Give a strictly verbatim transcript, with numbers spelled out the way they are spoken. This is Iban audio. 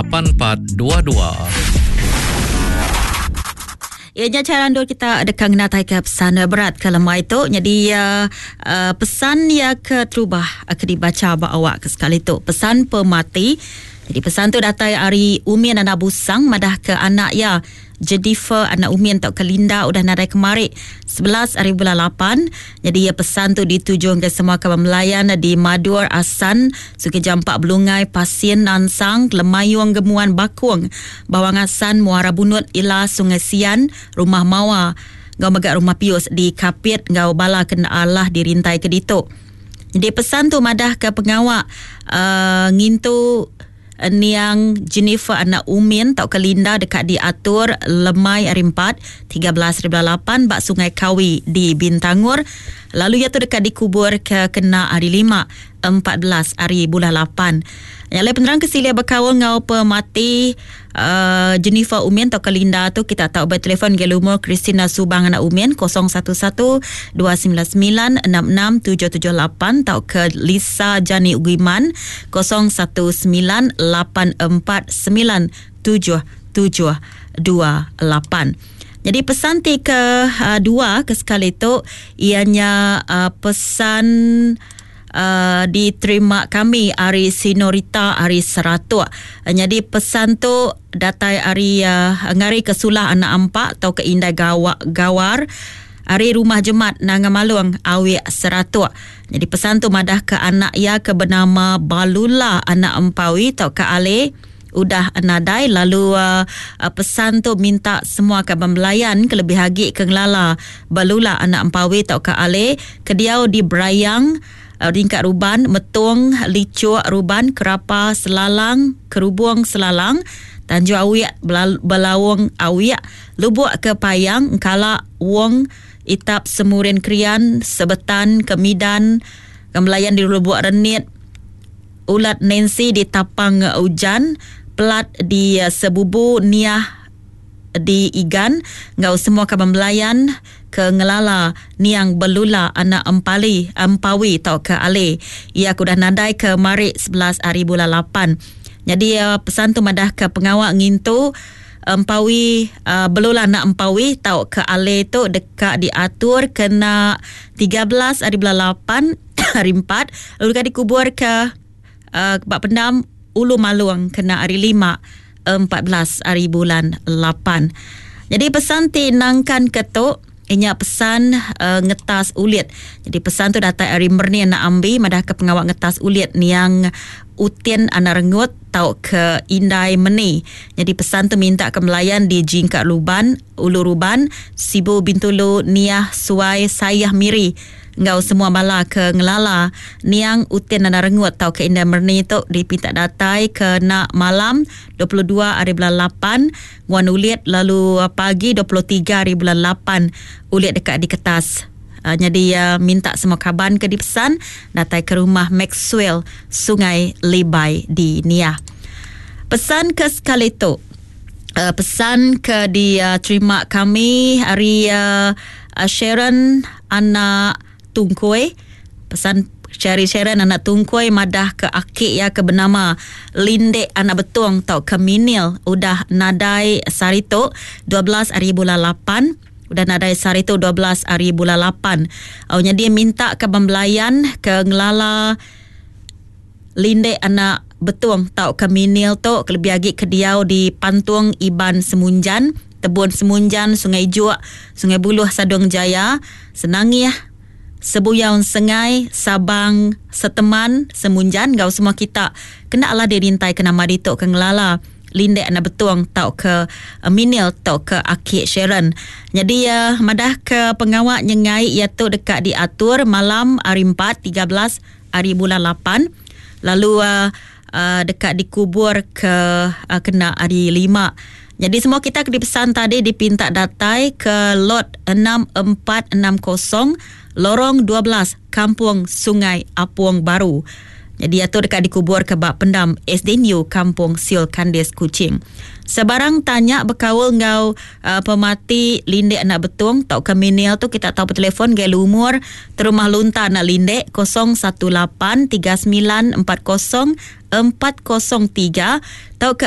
Lapan empat dua dua. Ya, nya cara endur kita deka ngenataika pesan berat ke lemai tu. Jadi uh, uh, pesan ya ke terubah uh, ke dibaca ba awak ke sekali tu. Pesan pemati. Jadi pesan tu datai ari Umin anak Busang madah ke anak ya Jennifer anak Umin tau ke Linda udah nadai kemari sebelas hari bulan lapan. Jadi ya pesan tu dituju ke semua kaban melayan di Madur, Asan, Sungai Jampak, Belungai, Pasien, Nansang, Lemayung, Gemuan, Bakung, Bawang Asan, Muara Bunut, Ila, Sungai Sian, Rumah Mawa, ngau mega Rumah Pius di Kapit ngau bala kena Allah dirintai ke ditu. Jadi pesan tu madah ke pengawak uh, ngintu niang Jennifer anak Umin tau ke Linda dekat diatur lemai hari empat tiga belas hari bulan lapan bak Sungai Kawi di Bintangor. Lalu ia tu dekat dikubur ke kena hari lima empat belas hari bulan lapan. Yang lain penerang ke silia berkaul ngau pemati uh, Jennifer Umin atau ke Linda tu kita tahu bertelefon ke lumur Christina Subang anak Umin kosong satu satu dua sembilan sembilan enam enam tujuh tujuh lapan atau ke Lisa Jani Ugiman kosong satu sembilan lapan empat sembilan tujuh tujuh dua lapan. Jadi pesan ti ke, uh, dua ke sekali tu ianya, uh, pesan Uh, diterima kami hari Sinorita hari Seratuk. Uh, jadi pesan tu datai hari, uh, ngari ke Sulah anak ampak atau ke Indai Gawa, Gawar hari Rumah Jemat Nanga Malung Awik Seratuk. Jadi pesan tu madah ke anak ia ke bernama Balula anak Empawi atau ke Ale udah nadai. Lalu, uh, uh, pesan tu minta semua ke pembelayan kelebih agi ke ngelala Balula anak Empawi atau ke Ale ke diau di Berayang Ringkat Ruban, Metung, Licuk, Ruban, Kerapa, Selalang, Kerubung, Selalang, Tanjung Awiak, Belal-, Belawong Awiak, Lubuk ke Payang, Engkala, Wong, Itap, Semurin Krian, Sebetan, Kemidan, Kemelayan di Lubuk Renit, Ulat Nancy di Tapang Ujan, Pelat di Sebubu, Niah di Igan, ngau semua kaban belayan ke ngelala niang Belula anak Empali, Empawi tau ke Ale. Ia kudah nadai ke marik sebelas hari bulan lapan. Jadi, uh, pesan tu madah ke pengawak ngintu Empawi, uh, Belula anak Empawi tau ke Ale tu dekat diatur kena tiga belas hari bulan lapan hari empat lalu dekat dikubur ke, uh, Bak Pendam Ulu Maluang kena hari lima empat belas hari bulan lapan. Jadi pesan ti nangkan ketuk inya pesan, uh, ngetas ulit. Jadi pesan tu datang dari Merni anak Ambi madah ke pengawak ngetas ulit niang Utin anak Rengut tau ke Indai Meni. Jadi pesan tu minta ke melayan di Jingkat Luban, Ulu Ruban, Sibu Bintulu, Niah, Suai, Sayah Miri. Ngau semua bala ke ngelala niang Utin anak Rengut tau ke Indai Merni tu dipinta datai ke nak malam dua puluh dua hari bulan lapan nguan ulit, lalu pagi dua puluh tiga hari bulan lapan ulit dekat di kertas. Uh, jadi, uh, minta semua kaban ke dipesan datai ke rumah Maxwell Sungai Libai di Niah. Pesan ke sekali tu, uh, pesan ke diterima kami hari, uh, uh, Sharon anak Tungkoi. Pesan Sherry Sharon anak Tungkoi madah ke akik ya ke bernama Lindek anak Betung tau ke Minil udah nadai sarito dua belas hari bulan lapan. Udah nadai sehari tu dua belas hari bulan lapan. Awalnya dia minta ke pembelayan ke ngelala Lindek anak Betung tau ke Minil tu kelebih agi ke diau di Pantung Iban Semunjan, Tebun Semunjan, Sungai Juak, Sungai Buluh Sadong Jaya, Senangih, Sebuyau Sengai, Sabang, Seteman, Semunjan, gau semua kita kena lah dirintai ke nama dituk ke ngelala Lindek anak Betung tau ke, uh, Minil tau ke Akik Sharon. Jadi, uh, madah ke pengawak nyengai ia tu dekat diatur malam hari empat tiga belas hari bulan lapan. Lalu, uh, uh, dekat dikubur ke, uh, kena hari lima. Jadi semua kita ke dipesan tadi dipinta datai ke lot enam empat enam kosong Lorong dua belas Kampung Sungai Apung Baru. Jadi itu dekat dikubur ke bak pendam S D N U Kampung Siol Kandis Kuching. Sebarang tanya berkaul ngau, uh, pemati Lindek anak Betung tau ke Minil tu kita tahu bertelefon gel umur terumah lunta anak Lindek kosong satu lapan tiga sembilan empat kosong empat kosong tiga tau ke